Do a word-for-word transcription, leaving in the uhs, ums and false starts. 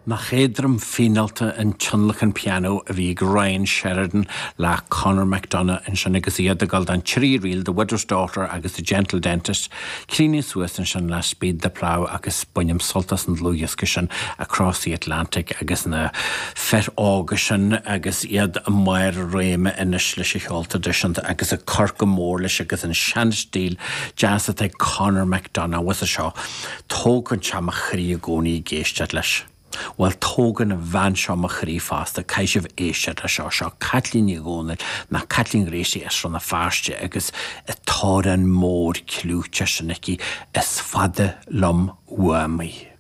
Nach éadrom fíneálta an tionlacan pianó a bhí ag Ryan Sheridan le Conor McDonagh ansin agus iad ag dul don trí ríl The Widow's Daughter agus The Gentle Dentist, críochnaithe suas ansin le Speed the Plough agus bainim sult as an dlúthdhiosca sin Across the Atlantic agus na fir óga sin agus iad i mbarr a réime anois leis an cheol traidisiúnta agus ag cur go mór leis agus an seanstíl deas atá ag Conor McDonagh was seo tógann sé mo chroí i gcónaí ag éisteacht leis. Well tógann an bhean seo mo chroí fosta caithfidh sibh éisteacht le seo seo Caitlín Ní Dhomhnaill ná Caitlín Gracie as Rann na Feirste agus an t-amhrán mór clúiteach sin aici is fada liom uaim í.